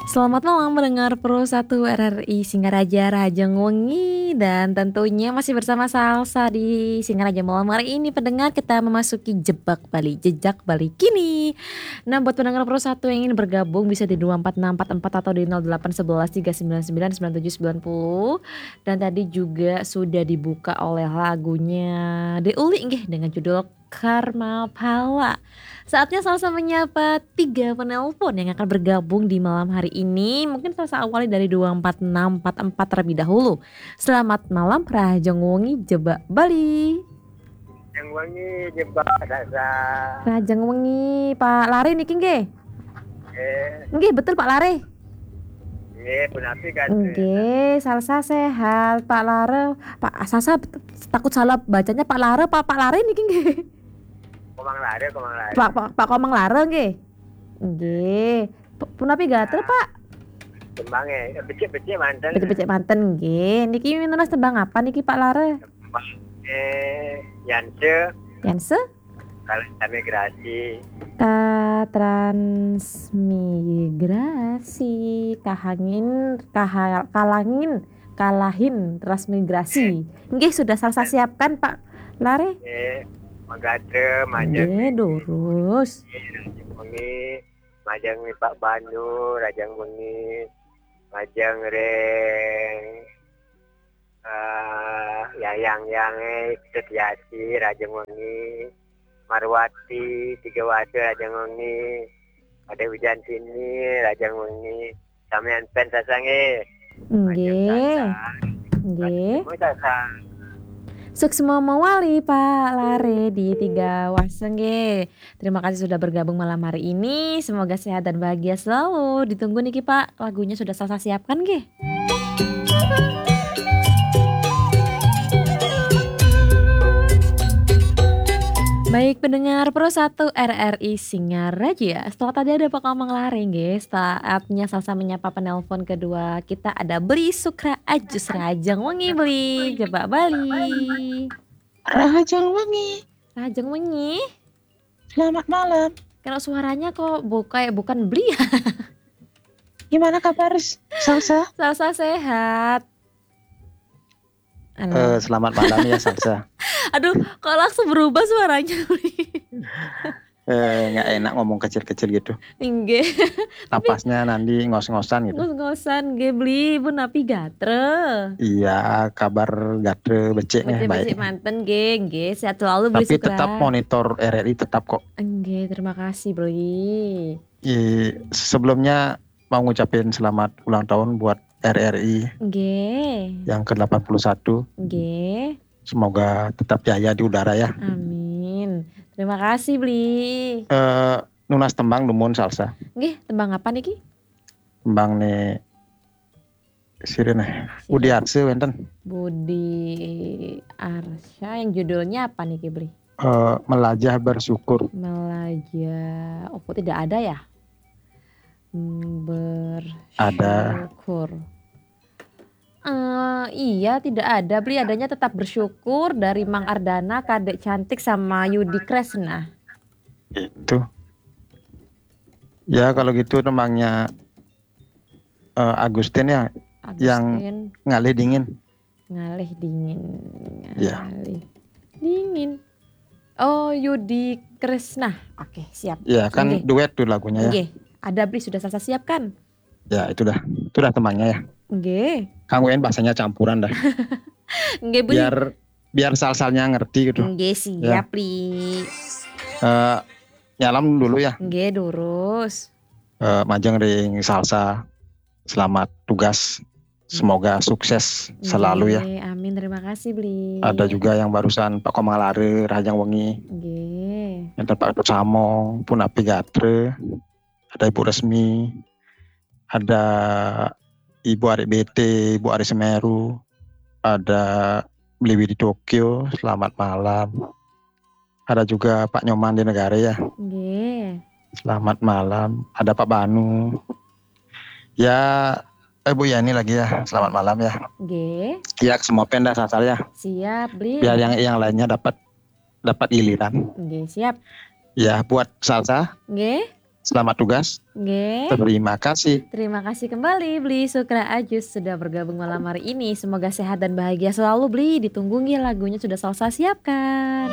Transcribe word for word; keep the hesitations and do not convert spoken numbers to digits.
Selamat malam pendengar Pro satu R R I Singaraja Rahajeng Wengi, dan tentunya masih bersama Salsa di Singaraja malam hari ini. Pendengar, kita memasuki Jebak Bali, Jejak Bali Kini. Nah, buat pendengar Pro satu yang ingin bergabung bisa di dua empat enam empat empat atau di nol delapan sebelas tiga sembilan sembilan sembilan tujuh sembilan puluh. Dan tadi juga sudah dibuka oleh lagunya De Uli nggih dengan judul Karma Pala. Saatnya Salsa menyapa tiga penelpon yang akan bergabung di malam hari ini. Mungkin Salsa awali dari dua empat enam empat empat terlebih dahulu. Selamat malam, Rahajeng Wengi, Jebak Bali. Yang Wengi, Jebak Salsa. Rahajeng Wengi, Pak Lare niki nggih? Eh, Nggih, betul Pak Lare. nggih, punapi kan? Nggih, Salsa sehat, Pak Lare. Pak Salsa takut salah bacanya Pak Lare, Pak Pak Lare niki nggih. Komang Lare, Komang Lare. Pak Pak, Pak Komang Lare nggih. Nggih. P- Punapi gatra, Pak? Tembangnya, eh, becik-becik manten. Becik-becik manten nggih. Niki nunas tembang apa niki, Pak Lare? Eh, Yanse, Yanse? Kalian Migrasi. Katransmigrasi, kahangin, kaha, kalangin, kalahin, transmigrasi. Nggih, sudah Salsa siapkan, Pak Lare. Eh, Magatre, Majeng. Nggih, durus. Wengi, Majeng Pak Bandu, Rahajeng Wengi, Majeng Reng, eh, Yayang Yange, Setiati, Rahajeng Wengi, Marwati, Tiga Wasa, Rahajeng Wengi, ada Wijantini, Rahajeng Wengi, samian pen Salsa nggih. Nggih. Nggih. Semua Salsa. Suksma mawali Pak Lare di Tiga Wasa nggih. Terima kasih sudah bergabung malam hari ini. Semoga sehat dan bahagia selalu. Ditunggu niki Pak, lagunya sudah Salsa siapkan nggih. Baik pendengar Pro satu R R I Singaraja. Setelah tadi ada Pak Komang Lare nggih, saatnya Salsa menyapa penelpon kedua kita, ada Beli Sukra Ajus, Rahajeng Wengi Beli, Jebak Bali. Rahajeng Wengi. Rahajeng Wengi. Selamat malam. Kalau suaranya kok bu- kayak bukan Beli ya? Gimana kabar, Salsa? Salsa sehat. Halo. Eh, selamat malam ya, Salsa. Aduh, kok langsung berubah suaranya? Eh, nggak enak ngomong kecil-kecil gitu. Nggih. Napasnya nanti ngos-ngosan gitu. Ngos-ngosan nggih, Beli, punapi gatra. Iya, kabar gatra becik nih, baik. Becik-becik manten nggih, nggih. Sehat selalu, Beli Tapi Sukra. Tetap monitor R R I tetap kok. Nggih, terima kasih, Beli. I, sebelumnya mau ngucapin selamat ulang tahun buat R R I Nggih. yang ke delapan puluh satu. Nggih. Semoga tetap jaya di udara ya. Amin. Terima kasih, Beli. Eh, nunas tembang dumun, Salsa. Nggih, tembang apa niki? Tembang nih sirine. Budi Arse wenten. Budi Arsya, yang judulnya apa niki, Beli? Eh, Melajah Bersyukur. Melajah. Oh, kok tidak ada ya? Hmm, Ada. Bersyukur. Eh, iya, tidak ada, Beli. Adanya Tetap Bersyukur dari Mang Ardana, Kadek Cantik, sama Yudi Kresna. Itu. Ya, kalau gitu tembangnya eh, Agustin ya, yang Agustin. Ngalih Dingin. Ngalih Dingin. Iya. Ngalih Dingin. Oh, Yudi Kresna. Oke, siap. Ya, kan Nggih. Duet tuh lagunya ya. Nggih. Ada, Beli, sudah Salsa siapkan. Ya, itu dah. Itu dah tembangnya ya. Nggih. Kanggo en bahasanya campuran dah. Nggih, Beli. Biar biar Salsanya ngerti gitu. Nggih, siap, Beli. Eh, nyalam dulu ya. Nggih, durus. Eh, majeng ring Salsa. Selamat tugas. Semoga sukses selalu ya. Nggih, amin. Terima kasih, Beli. Ada juga yang barusan Pak Komang Lare, Rahajeng Wengi. Nggih. Yang Pak Ketut Samong, punapi gatra. Ada Ibu Resmi. Ada Ibu Arik B T, Ibu Arik Semeru. Ada Beli Widi Tokyo, selamat malam. Ada juga Pak Nyoman di Negara ya. Nggih. Selamat malam. Ada Pak Banu. Ya, eh, Bu Yani lagi ya. Selamat malam ya. Nggih. Ya, semua pen dah Salsa ya. Siap, Beli. Biar yang yang lainnya dapat dapat giliran. Nggih, siap. Ya, buat Salsa, Nggih. Selamat tugas. Nggih. Terima kasih. Terima kasih kembali Bli Sukra Ajus sudah bergabung malam hari ini. Semoga sehat dan bahagia selalu, Bli. Ditunggu nggih lagunya sudah Salsa siapkan.